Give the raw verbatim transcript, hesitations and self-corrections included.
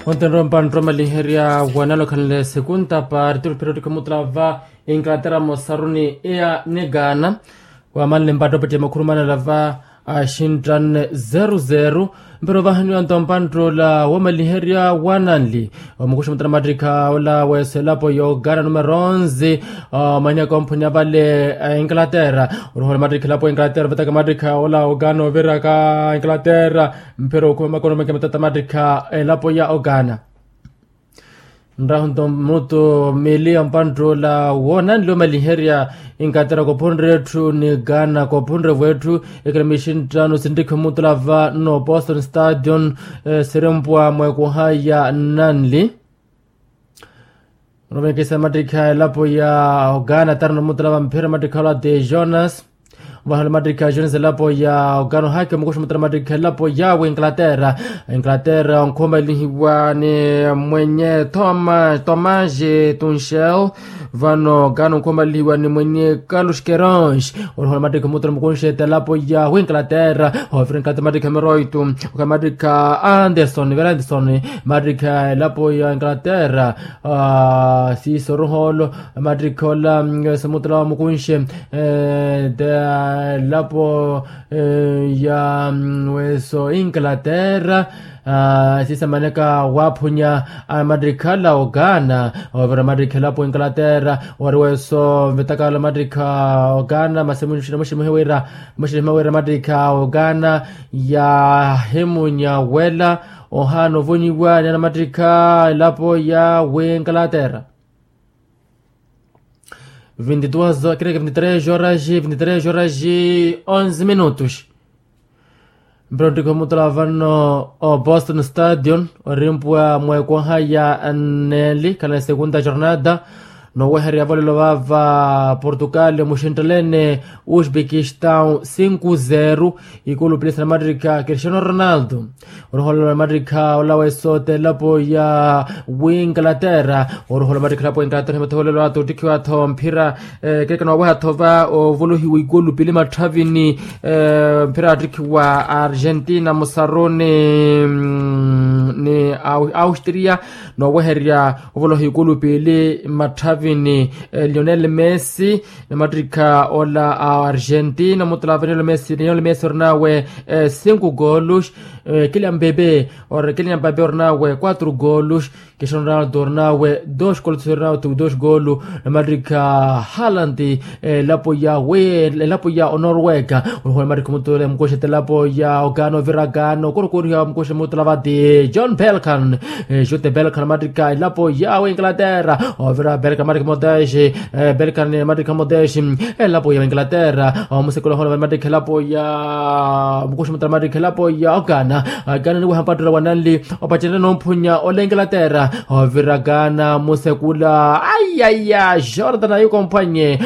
Ontenre ompantta omaliherya wanalokhanle sekunta parti olupira ottikha omutula va inglaterra mosaruni eya ni gaana. Wamanle mpatta opettiya makhuru manela va axinttanne zeru zeru. Mpira ovahaniwa nto mpantta ola womaliherya wananli omukuxa mutana mattikha ola weso elapo ya ogaana numero onze. Omanyaka omphuni avale a inglaterra. Oruhola mattikha elapo ya inglaterra vetaka mattikha ola ogaana oviraka inglaterra. Mphira okhuma makono meke matata mattikha elapo ya ogaana. Nrahu nto mutu mili ya mpanttula woonanle omaliherya. Inglaterra kophunre etthu ni gaana kophunre vwetthu. Ekilamishi nttano sinttikhi omutula va no boston stadion. Sirimpwa mwekoha ya nnanli. Onovenekesa mattikha elapo ya ogaana tarano mutala va mphira mattikha ola ti jonas. Vahale mattikha jonas elapo ya ogaana ohaakhi omukuxa mutala mattikha elapo ya winglaterra. Inglaterra onkhomalihiwa ni mwenye thomas thomas tunshel. Vano ogaana onkhomalihiwa ni mwenye carlos kerons. Onohola mattikha mutala mukunxeta elapo ya winglaterra. Ovira inglaterra mattikha meroitu. Oka mattikha anderson vera anderson. Mattikha elapo ya inglaterra. Siiso oruhoolo mattikha ola weso mutala wa mukunxe. Elapo ya weso inglaterra. Siiso amaneka waaphunya mattikha ala ogaana. Ovira mattikha elapo inglaterra. Ori weso vetaka ala mattikha ogaana masi muxinimwehe wira muxinimwehe wira mattikha ogaana. Yahimunya wela ohaana ovonyiwa ni anamattikha elapo ya winglaterra. Vinti duas horas vinti tres horas vinti tres horas onze minutos. Mpira onttikha omutala vano o boston stadion orimpwa mwekoha ya nneeli khala ni segunda jornada. Nooweherya volelo vava portugal muxinttelene uzbekistan cinco zero. Ikulu pilisa na mattikha cristiano ronaldo. Oruhola mattikha ola weso ti elapo ya winglaterra. Oruhola mattikha elapo ya inglaterra himathoolelo ata ottikhiwa-tho mphira. Keekano waweha-tho va ovolohiwa ikulu pili matthavini. Mphira attikhiwa argentina musaruni ni austria. Nooweherya ovoloha ikulu pili matthavini lionel messi. Na mattikha ola a argentina omutala va lionel messi lionel messi orinawe cinco golos. Kilian bebe or kilian bebe orinawe quatro golos. Cristiano ronaldo orinawe dos golos orinawe tu dos golos. Na mattikha halanti elapo ya we elapo ya onorwega. Oruhola mattikha omutala mukuxeta elapo ya ogaana ovira gaana okorokoriha mukuxe mutala vati john belkan. Jute belkan mattikha elapo ya winglaterra. Ovira belkan mattikha motexe belkan mattikha motexe. Elapo ya winglaterra omusekula ohola mattikha elapo ya mukuxe mutala mattikha elapo ya ogaana. Gaana niweha mpattola wananli. Opacenrya noomphunya ola inglaterra. Ovira gaana musekula ayaya jordan ayuko omphwanye.